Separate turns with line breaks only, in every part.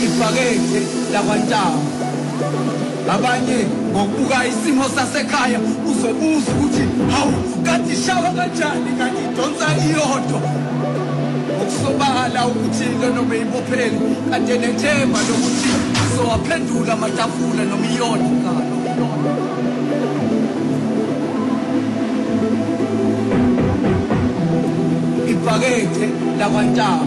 Ibhakede lakwaNtaba. Abanye ngokubuka isimo sasekhaya uzobuza ukuthi hawu kanti ishawa kanjani kanti idonsa iyodwa. Okusobala ukuthi lona beyibophele kanti nethemba lokuthi uzowaphendula amatafula noma iyodwa. Ibhakede lakwaNtaba.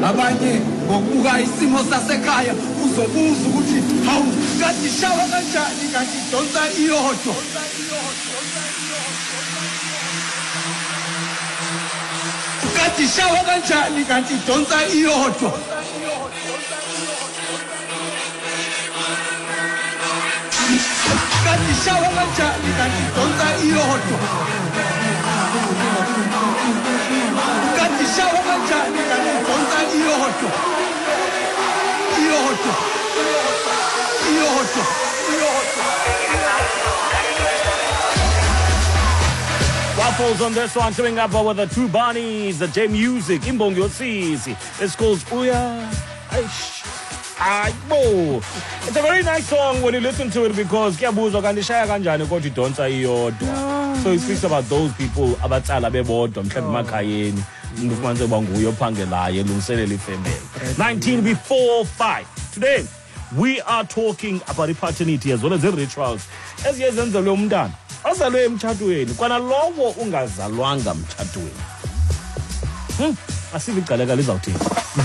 Abanye ngokubuka isimo sasekhaya uzobuza ukuthi hawu kanti ishawa kanjani kanti idonsa iyodwa. Kanti ishawa kanjani kanti idonsa iyodwa. Kanti ishawa kanjani kanti idonsa iyodwa. Kanti ishawa kanjani kanti idonsa iyodwa. Iyodwa. Iyodwa. Iyodwa.
Waffles on this one, coming up with the two bunnies, the J Music, Imbongi Yosisi. It's called Uya. Aish. Aibo. It's a very nice song when you listen to it because kuyabuzwa kanti ishaya kanjani kodwa idonsa iyodwa. So it speaks about those people abatsala bebodwa mhlawumbe emakhayeni. Umuntu ufumanise uba nguye ophangelayo elungiselela ifemeli. 19 before 5. Today we are talking about i-paternity as well as the rituals eziye zenzelwe umntana ozalwe emtshatweni kwanalowo ungazalwanga mtshatweni. Asive igcaleka lizawuthini.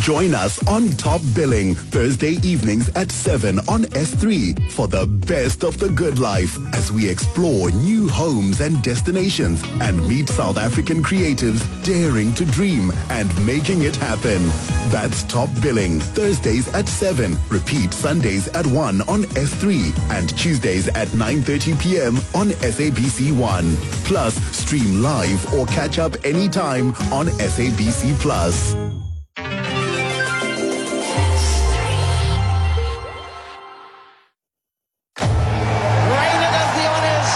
Join us on Top Billing Thursday evenings at 7 on S3 for the best of the good life as we explore new homes and destinations and meet South African creatives daring to dream and making it happen. That's Top Billing Thursdays at 7, repeat Sundays at 1 on S3 and Tuesdays at 9:30 p.m. on SABC1. Plus, stream live or catch up anytime on SABC Plus.
Raina does the honours,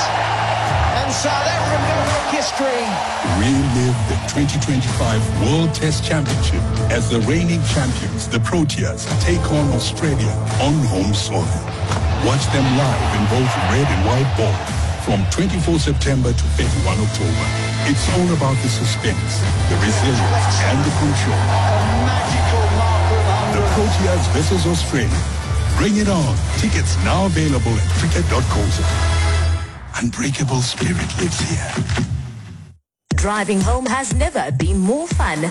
and South Africa make history.
Relive the 2025 World Test Championship as the reigning champions, the Proteas, take on Australia on home soil. Watch them live in both red and white ball from 24 September to 31 October. It's all about the suspense, the resilience, and the control.
A magical mark
The Proteas versus Australia. Bring it on. Tickets now available at cricket.co.za. Unbreakable spirit lives here.
Driving home has never been more fun.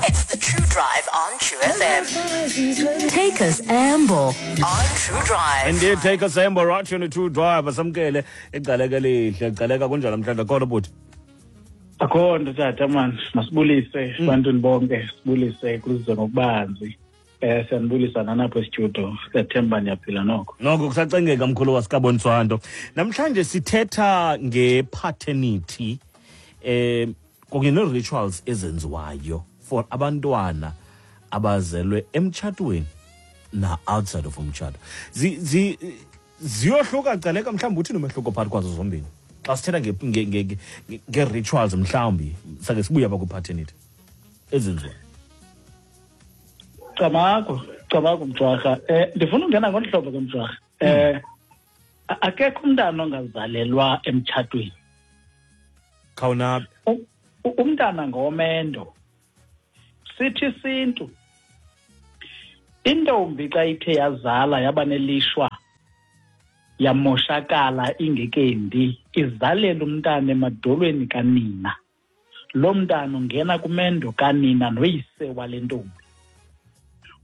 It's the True Drive on True FM. Take us amble on True Drive.
Indeed, take us amble right on the True Drive. Asamkele igcaleka lihle, igcaleka kunjani namhlanje khona bhuti?
Akho nto tata man, masibulise ebantwini bonke, sibulise kuze ngokubanzi. Siyanibulisa nanapho e-studio. Siyathemba niyaphila noko.
Noko kusacengeka mkhulu wasikaboniswanto. Namhlanje sithetha nge-paternity kunye nee-rituals ezenziwayo for abantwana abazelwe emtshatweni na outside of umtshato. Ziyohluka gcaleka, mhlawumbi uthini umehluko phakathi kwazo zombini? Xa sithetha nge-rituals mhlawumbi sake sibuye apha kwi-paternity ezenziwayo.
Camago, camago mjwarha. Ndifuna ungena ngolu hlobo ke mjwarha. Akekho umntana ongazalelwa emtshatweni.
Khawunabe.
Umntana ngomendo. Sithi isintu intombi xa ithe yazala yaba nelishwa yamoshakala ingekendi izalela umntana emadolweni kanina. Lo mntana ungena kumendo kanina noyise wale ntombi.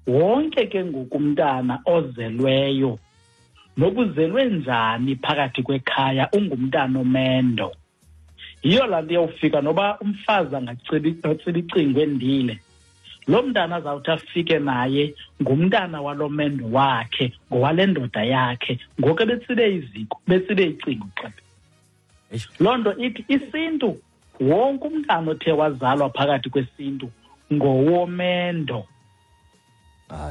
Wonke ke ngoku umntana ozelweyo nokuzelwe njani phakathi kwekhaya ungumntana omendo. Yiyo laa nto iyawufika noba umfazi angatsiba icingo endile. Lo mntana azawuthi afike naye ngumntana walo mendo wakhe, ngowale ndoda yakhe, ngoku ebetsibe iziko, betsibe icingo xa. Loo nto ithi isintu wonke umntana othe wazalwa phakathi kwesintu ngowomendo.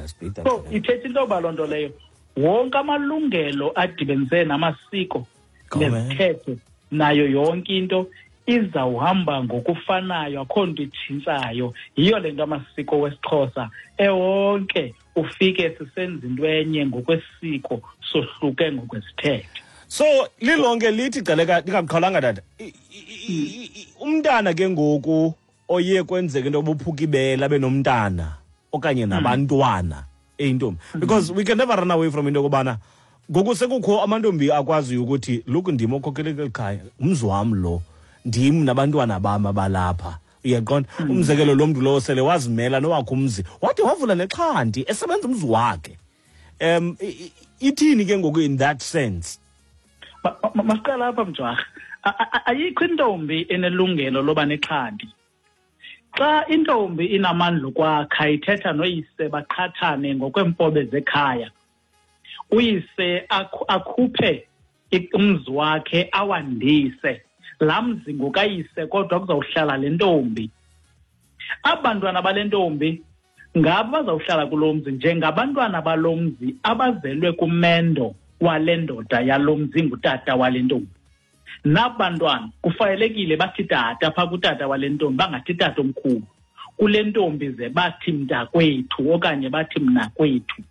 Sibhida.
So ithetha into yoba loo nto leyo wonke amalungelo adibenise namasiko
Ngomendo.
nezithethe nayo yonke into Izawuhamba ngokufanayo, akho nto itshintshayo. Yiyo le nto amasiko wesiXhosa ewonke ufike sisenza into enye ngokwesiko, sohluke ngokwesithethe.
So lilonke lithi Gcaleka, ndingamqhalanga tata, umntana ke ngoku oye kwenzeka into obuphuka ibele abe nomntana okanye nabantwana eyintombi, because we can never run away from into yokubana ngoku sekukho amantombi akwaziyo ukuthi look, ndim okhokhele kweli khaya, umzi wam lo, ndim nabantwana bam abalapha. Uyaqonda? Umzekelo, lo mntu lowo sele wazimela nowakhe umzi, wade wavula nexhanti esebenza umzi wakhe. Ithini ke ngoku in that sense?
Masiqala apha, Mjwarha. Ayikho intombi enelungelo loba nexhanti. Xa intombi inamandla okwakha, ithetha noyise, baqhathane ngokweemfobe zekhaya. Uyise akhuphe umzi wakhe, awandise laa mzi ngokayise, kodwa kuzawuhlala le ntombi. Aba bantwana bale ntombi ngabo bazawuhlala kulo mzi njengabantwana balo mzi abazelwe kumendo wale ndoda yalo mzi ngutata wale ntombi. Naba bantwana kufanelekile bathi tata phaa kutata wale ntombi, bangathi tata omkhulu. Kule ntombi ze bathi mntakwethu okanye bathi mnakwethu.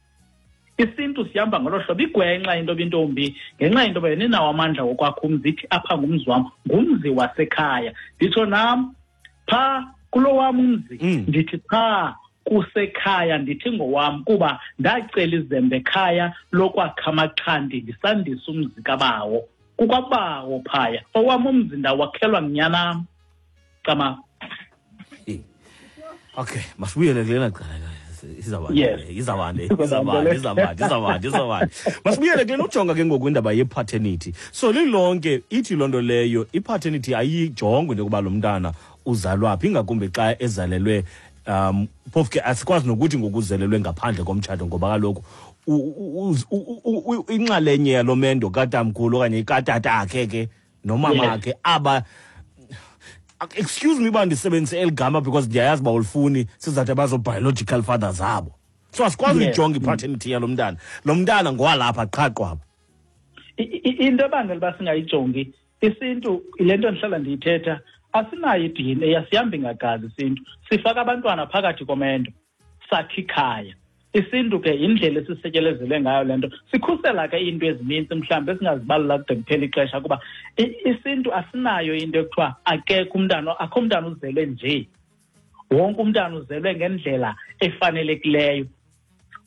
Isintu sihamba ngolo hlobo. Igwenxa into intombi ngenxa yento yoba yena inawo amandla wokwakha umzi, ithi apha ngumzi wam, ngumzi wasekhaya. Nditsho nam phaa kulo wam umzi, ndithi phaa kusekhaya, ndithi ngowam kuba ndacela izembe ekhaya lokwakha amaxhanti ndisandisa umzi kabawo. Kukwabawo phaya, owam umzi ndawakhelwa ngunyanam. Cama.
Okay, masibuyele kulena cala. Izawande, izawande, izawande, izawande, izawande. Masibuyele kulena ujonga ke ngoku indaba ye-paternity. So lilonke ithi loo nto leyo i-paternity ayijongwe into yokuba lo mntana uzalwa phi, ingakumbi xa ezalelwe phofu ke asikwazi nokuthi ngokuzelelwe ngaphandle komtshato, ngoba kaloku inxalenye yalo mendo katamkhulu okanye katatakhe ke nomama akhe aba, excuse me uba ndisebenzise eli gama because ndiyayazi uba ulifuni, sizawuthi abazo-biological fathers abo. So asikwazi uyijonga i-paternity yalo mntana. Lo mntana ngowalapha qha qwaba.
Into ebangela uba singayijongi isintu, le nto ndihlala ndiyithetha, asinayo i-DNA, asihambi ngagazi isintu. Sifaka abantwana phakathi komendo, sakhe ikhaya. Isintu ke yindlela esisetyelezelwe ngayo le nto. Sikhusela ke iinto ezininzi mhlawumbi esingazibalula kude kuphela ixesha, kuba isintu asinayo into ekuthiwa akekho umntana, akho umntana uzelwe nje. Wonke umntana uzelwe ngendlela efanelekileyo.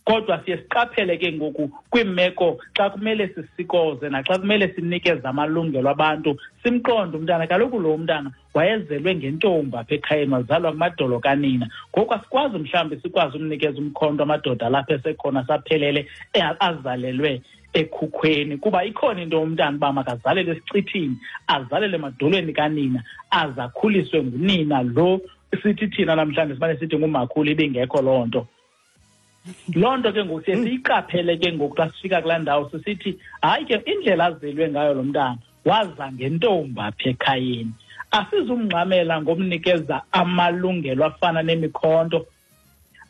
Kodwa siye siqaphele ke ngoku kwiimeko xa kumele sisikoze naxa kumele sinikeze amalungelo abantu, simqonde umntana. Kaloku lo mntana wayezelwe ngentombi apha ekhayeni, wazalwa kumadolo kanina. Ngoku asikwazi mhlawumbi sikwazi umnikeza umkhonto amadoda lapha esekhona saphelele azalelwe ekhukhweni, kuba ikhona into umntana uba makazalelwe esicithini, azalelwe emadolweni kanina, azakhuliswe ngunina lo sithi thina namhlanje simane sithi ngumakhulu, ibingekho loo nto. Loo nto ke ngoku siye siyiqaphele ke ngoku xa sifika kulaa ndawo, sisithi hayi ke indlela azelwe ngayo lo mntana, waza ngentombi apha ekhayeni. Asizumngxamela ngomnikeza amalungelo afana nemikhonto,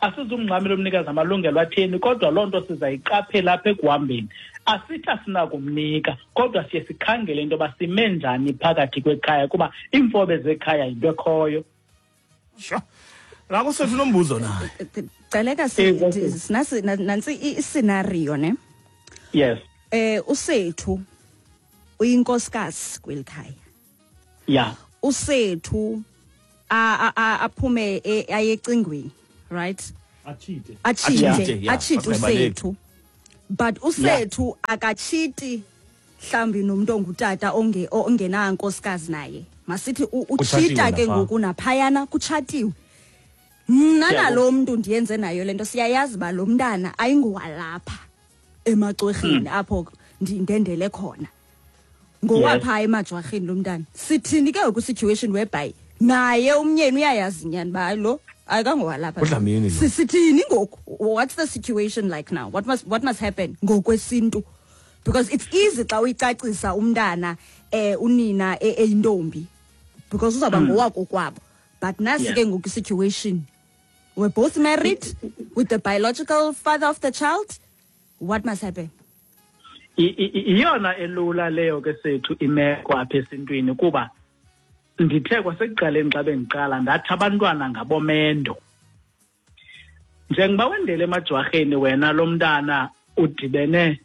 asizumngxamela umnikeza amalungelo atheni, kodwa loo nto sizayiqaphela apha ekuhambeni. Asithi asinakumnika, kodwa siye sikhangele into yoba sime njani phakathi kwekhaya, kuba iimfobe zekhaya yinto ekhoyo.
Sure. Naku sethu unombuzo naye.
Gcaleka, sinasi nantsi i-scenario ne.
Yes.
Usethu uyinkosikazi kweli khaya. Usethu aphume aye ecingweni, right?
Achite.
Achite.
Achite, yeah.
Achite usethu. But usethu akachiti mhlawumbi nomuntu ongutata ongenankosikazi naye. Masithi uchita ke ngoku naphayana kutshatiwe. Mna nalo mntu ndiyenze nayo lento, siyayazi ba lo mntana ayingowalapha emacwerheni apho ndendele khona. Ngowapha emajwarheni lo mntana. Sithini ke ngoku situation whereby naye umnyeni uyayazi nyani ba lo ayikangowalapha.
UDlamini lo.
Sithini ngoku? What's the situation like now? What must happen ngokwesintu? Because it's easy xa uyicacisa umntana unina eyintombi, because uzawuba ngowakokwabo. But nasi ke ngoku situation, we're both married with the biological father of the child. What must happen?
Iyona elula leyo ke sethu imeko apha esintwini, kuba Ndithe kwasekuqaleni xa bendiqala ndathi abantwana ngabomendo. Njengoba wendele emajwarheni wena, lo mntana udibene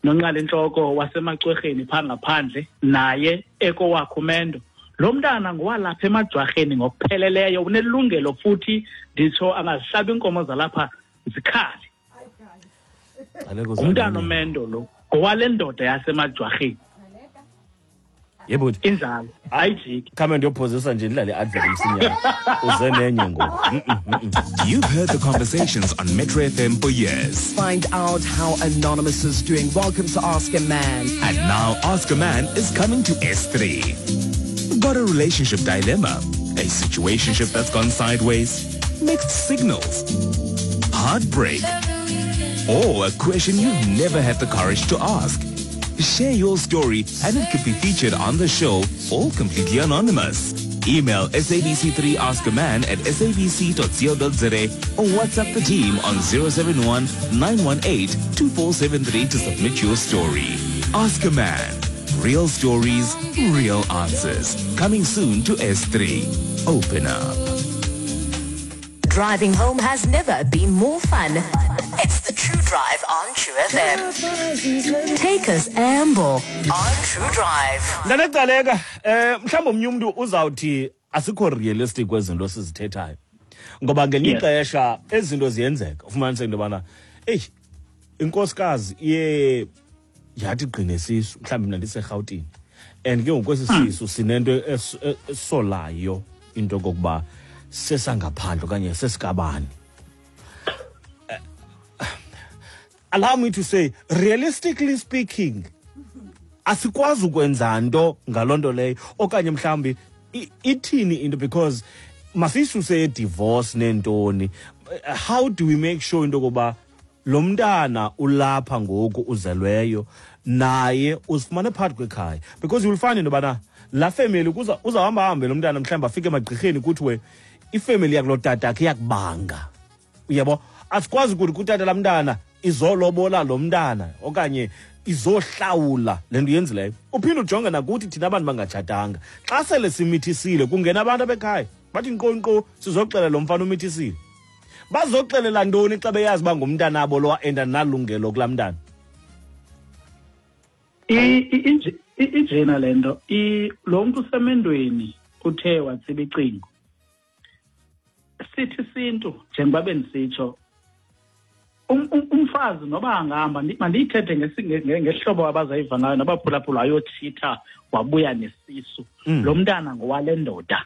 nonqala intloko wasemacwerheni phaa ngaphandle, naye ekowakho umendo. Lo mntana ngowalapha emajwarheni ngokupheleleyo, unelungelo futhi nditsho angazihlaba iinkomo zalapha zikhale. Ngumntana omendo lo, ngowale ndoda yasemajwarheni.
Yebo.
Injalo, ayijiki.
Khame ndiyophozisa nje ndidlale i-advert msinyane. Uze nenye ngoku.
You've heard the conversations on Metro FM for years.
Find out how Anonymous is doing. Welcome to Ask a Man.
And now Ask a Man is coming to S3. Got a relationship dilemma? A situationship that's gone sideways? Mixed signals? Heartbreak? Or a question you've never had the courage to ask? Share your story and it could be featured on the show, all completely anonymous. Email sabc3askaman at sabc.co.za or WhatsApp the team on 071 918 2473 to submit your story. Ask a Man. Real stories, real answers. Coming soon to S3. Open up.
Driving home has never been more fun. It's the True Drive on True FM. Take us amble on True Drive.
Ndanecaleka, mhlawumbi omnye umntu uzawuthi asikho realistic kwezinto sizithethayo. Ngoba ngelinye ixesha ezinto ziyenzeka. Ufumaniseke into yobana eyi, inkosikazi iye yathi gqine sisu, mhlawumbi mna ndiseRhawutini. And ke ngoku esi sisu sinento esolayo into yokokuba sesangaphandle okanye sesikabani. Allow me to say, realistically speaking, asikwazi ukwenza nto ngaloo nto leyo okanye mhlawumbi ithini into, because masisuse divorce neentoni. How do we make sure into yokokuba lo mntana ulapha ngoku uzelweyo naye uzifumane phakathi kwekhaya? Because you will find into yobana laa family uzawuhamba hambe lo mntana mhlawumbi afike emagqirheni kuthiwe ifemeli yakuloo tatakhe iyakubanga. Uyabo, asikwazi ukuthi kutata laa mntana izolobola lo mntana okanye izohlawula le nto yenzileyo. Uphinde ujonge nakuthi thina abantu bangatshatanga, xa sele simithisile kungena abantu abekhaya bathi nkqo nkqo sizoxelela lo mfana umithisile. Bazoxelela ntoni xa beyazi uba ngumntanabo lo and andinalungelo kulaa mntana?
Injena le nto, lo mntu usemendweni uthe watsiba icingo. Sithi sintu njengoba bendisitsho, umfazi noba angahamba, mandiyithethe ngehlobo abazayiva ngayo nabaphulaphula, ayotshitha wabuya nesisu. Lo mntana ngowale ndoda.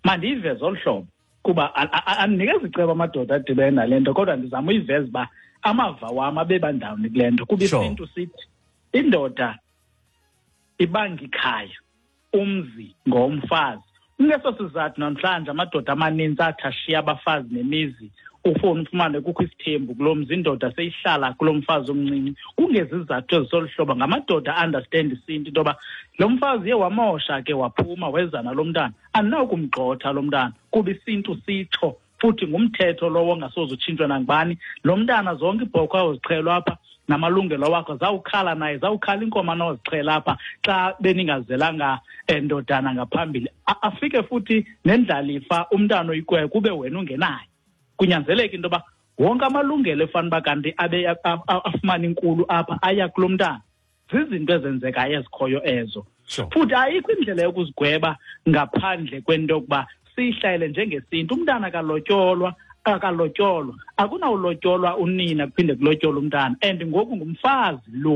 Mandiyiveze olu hlobo kuba andinikezi icebo amadoda adibene nale nto, kodwa ndizama uyiveza uba amava wam abebandawuni kule nto. Kuba isintu sithi indoda ibanga ikhaya, umzi ngomfazi. Kungeso sizathu namhlanje amadoda amaninzi athi ashiya abafazi nemizi, ufone ufumane kukho isithembu kulo mzi, indoda seyihlala kulo mfazi omncinci. Kungezizathu ezisolu hlobo, ngamadoda understand isintu into yoba lo mfazi uye wamosha ke waphuma weza nalo mntana, andinawukumgxotha lo mntana kuba isintu sitsho, futhi ngumthetho lowo ongasoze utshintshwe nangubani. Lo mntana zonke iibhokhwe awuzixhelwa apha namalungelo wakho, zawukhala naye, zawukhala iinkomo anozixhela apha xa beningazelanga ndodana ngaphambili. Afike futhi nendlalifa umntana oyikwekwe kube wena ungenayo. Kunyanzeleka into yoba wonke amalungelo efana uba kanti abe afumane inkulu apha aya kulo mntana. Zizinto ezenzekayo ezikhoyo ezo. Futhi ayikho indlela yokuzigweba ngaphandle kwento yokuba siyihlayele njengesintu. Umntana akalotyolwa, akunawulotyolwa unina kuphinde kulotyolwe umntana. And ngoku ngumfazi lo.